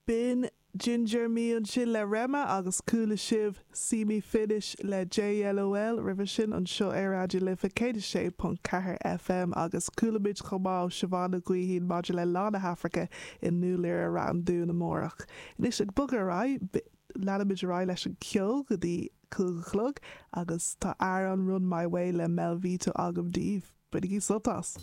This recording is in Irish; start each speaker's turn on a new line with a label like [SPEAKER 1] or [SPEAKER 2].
[SPEAKER 1] B'in Ginger Me ansin le Rema agus chuala sibh See Me Finish le JLOL roimhe sin anseo ar Raidió na Life 106.4 FM agus chuala muid chomh maith ó Siobhán Ní Ghaoithín maidir le Lá na hAfraice i nDún Laoghaire Rath an Dúin amárach. Anois ag bogadh ar aghaidh, leanfaimid ar aghaidh leis an cheol go dtí 5 a chlog agus tá amhrán Run My Way le Mel Vito agam daoibh. Bainigí sult as!